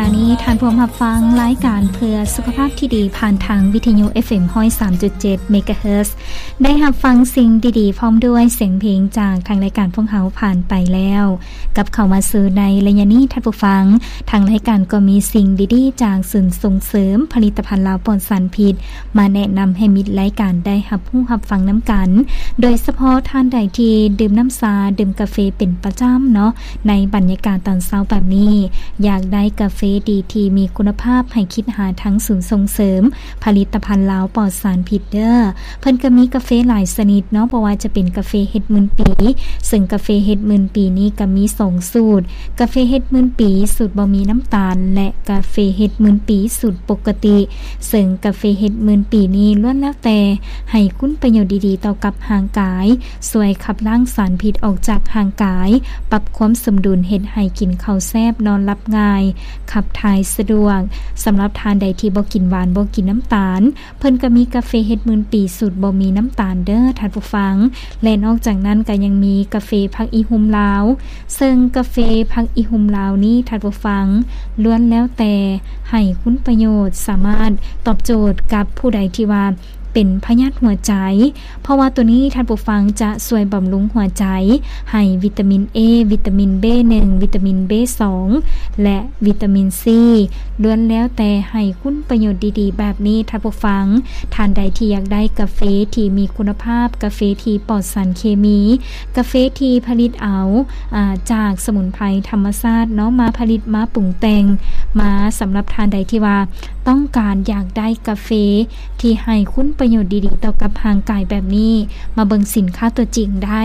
ອັນນີ້ທ່ານຜູ້ຮັບຟັງລາຍການເພື່ອສຸຂະພາບທີ່ດີ ຜ່ານທາງວິທະຍຸ ເອັຟເອັມ ຮ້ອຍສາມຈຸດເຈັດ ເມກາເຮີດ ໄດ້ຮັບຟັງສິ່ງດີໆ ພ້ອມດ້ວຍສຽງເພງຈາກທາງລາຍການພວກເຮົາຜ່ານໄປແລ້ວ. ກັບເຂົ້າມາສູ່ໃນໄລຍະນີ້ ທ່ານຜູ້ຟັງ, ທາງລາຍການກໍມີສິ່ງດີໆ ຈາກສູນສົ່ງເສີມຜະລິດຕະພັນລາວປອດສານພິດ ມາແນະນຳໃຫ້ມິດລາຍການໄດ້ຮັບຮູ້ຮັບຟັງນຳກັນ, ໂດຍສະເພາະທ່ານໃດທີ່ດື່ມນ້ຳຊາ, ດື່ມກາເຟເປັນປະຈຳເນາະ, ໃນບັນຍາກາດຕອນເຊົ້າແບບນີ້, ຢາກໄດ້ກາເຟດີທີ່ມີຄຸນນະພາບ, ໃຫ້ຄິດຫາທາງສູນສົ່ງເສີມຜະລິດຕະພັນລາວປອດສານພິດເດີ້. ເພິ່ນກໍມີກາເຟຫຼາຍຊະນິດເນາະ, ບໍ່ວ່າຈະເປັນກາເຟເຮັດໝື່ນປີ, ເຊິ່ງກາເຟເຮັດໝື່ນປີນີ້ກໍມີສອງສູດ, ກາເຟເຮັດໝື່ນປີສູດບໍ່ມີນ້ຳຕານ ແລະ ກາເຟເຮັດໝື່ນປີສູດປົກກະຕິ. ເຊິ່ງກາເຟເຮັດໝື່ນປີນີ້ລ້ວນແລ້ວແຕ່ໃຫ້ຄຸນປະໂຫຍດດີໆຕໍ່ກັບຮ່າງກາຍ, ຊ່ວຍຂັບລ້າງສານພິດອອກຈາກຮ່າງກາຍ, ປັບຄວາມສົມດຸນເຮັດໃຫ້ກິນເຂົ້າແຊບ, ນອນຫຼັບງ່າຍ, ຂັບຖ່າຍສະດວກ. ສຳລັບທ່ານໃດທີ່ບໍ່ກິນຫວານ, ບໍ່ກິນນ້ຳຕານ, ເພິ່ນກໍມີກາເຟເຮັດໝື່ນປີສູດບໍ່ມີນ້ຳຕານເດີ້ທ່ານຜູ້ຟັງ. ແລະ ນອກຈາກນັ້ນກໍຍັງມີກາເຟຜັກອີ່ຫຸ່ມລາວ, ເຊິ່ງກາເຟຜັກອີ່ຫຸ່ມລາວນີ້ທ່ານຜູ້ຟັງ ລ້ວນແລ້ວແຕ່ໃຫ້ຄຸນປະໂຫຍດ, ສາມາດຕອບໂຈດກັບຜູ້ໃດທີ່ວ່າເປັນພະຍາດຫົວໃຈ, ເພາະວ່າໂຕນີ້ທ່ານຜູ້ຟັງຈະຊ່ວຍບຳລຸງຫົວໃຈ ໃຫ້ວິຕາມິນເອ, ວິຕາມິນເບໜຶ່ງ, ວິຕາມິນເບສອງ ແລະ ວິຕາມິນຊີ ລ້ວນແລ້ວແຕ່ໃຫ້ຄຸນປະໂຫຍດດີໆແບບນີ້ທ່ານຜູ້ຟັງ. ທ່ານໃດທີ່ຢາກໄດ້ກາເຟທີ່ມີຄຸນນະພາບ, ກາເຟທີ່ປອດສານເຄມີ, ກາເຟທີ່ຜະລິດເອົາ ອາ ຈາກສະໝຸນໄພທຳມະຊາດເນາະ ມາຜະລິດ, ມາປຸງແຕ່ງມາ. ສຳລັບທ່ານໃດທີ່ວ່າຕ້ອງການຢາກໄດ້ກາເຟ ທີ່ໃຫ້ຄຸນປະໂຫຍດດີໆຕໍ່ກັບຮ່າງກາຍແບບນີ້, ມາເບິ່ງສິນຄ້າຕົວຈິງໄດ້,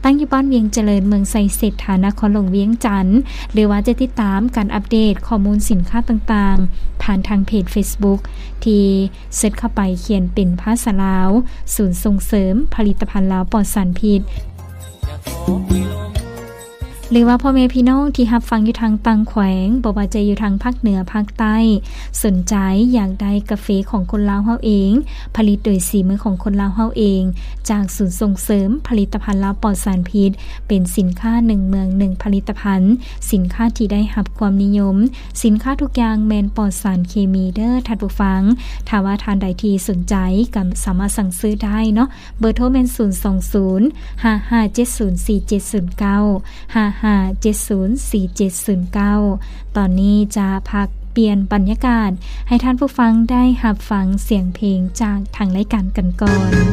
ຕັ້ງຢູ່ບ້ານວຽງຈະເລີນ, ເມືອງໄຊເສດຖາ, ນະຄອນຫຼວງວຽງຈັນ, ຫຼືວ່າຈະຕິດຕາມການອັບເດດຂໍ້ມູນສິນຄ້າຕ່າງໆ ຜ່ານທາງເພຈເຟສບຸກ ທີ່ເສິດເຂົ້າໄປຂຽນເປັນພາສາລາວ, ສູນສົ່ງເສີມຜະລິດຕະພັນລາວປອດສານພິດ. ຫຼືວ່າພໍ່ແມ່ພີ່ນ້ອງທີ່ຮັບຟັງຢູ່ທາງຕ່າງແຂວງ, ບໍ່ວ່າຈະຢູ່ທາງພາກເໜືອ, ພາກໃຕ້, ສົນໃຈຢາກໄດ້ກາເຟຂອງຄົນລາວເຮົາເອງ, ຜະລິດໂດຍສີມືຂອງຄົນລາວເຮົາເອງ, ຈາກສູນສົ່ງເສີມຜະລິດຕະພັນລາວປອດສານພິດ, ເປັນສິນຄ້າໜຶ່ງເມືອງໜຶ່ງຜະລິດຕະພັນ, ສິນຄ້າທີ່ໄດ້ຮັບຄວາມນິຍົມ, ສິນຄ້າທຸກຢ່າງແມ່ນປອດສານເຄມີເດີ້ທ່ານຜູ້ຟັງ. ຖ້າວ່າທ່ານໃດທີ່ສົນໃຈກໍສາມາດສັ່ງຊື້ໄດ້ເນາະ. ເບີໂທແມ່ນ ສູນສອງສູນ ຫ້າຫ້າເຈັດສູນ ສີ່ເຈັດສູນເກົ້າ ຫ້າຫ້າເຈັດສູນ ສີ່ເຈັດສູນເກົ້າ. ຕອນນີ້ຈະພັກປ່ຽນບັນຍາກາດ ໃຫ້ທ່ານຜູ້ຟັງໄດ້ຮັບຟັງສຽງເພງຈາກທາງລາຍການກັນກ່ອນ.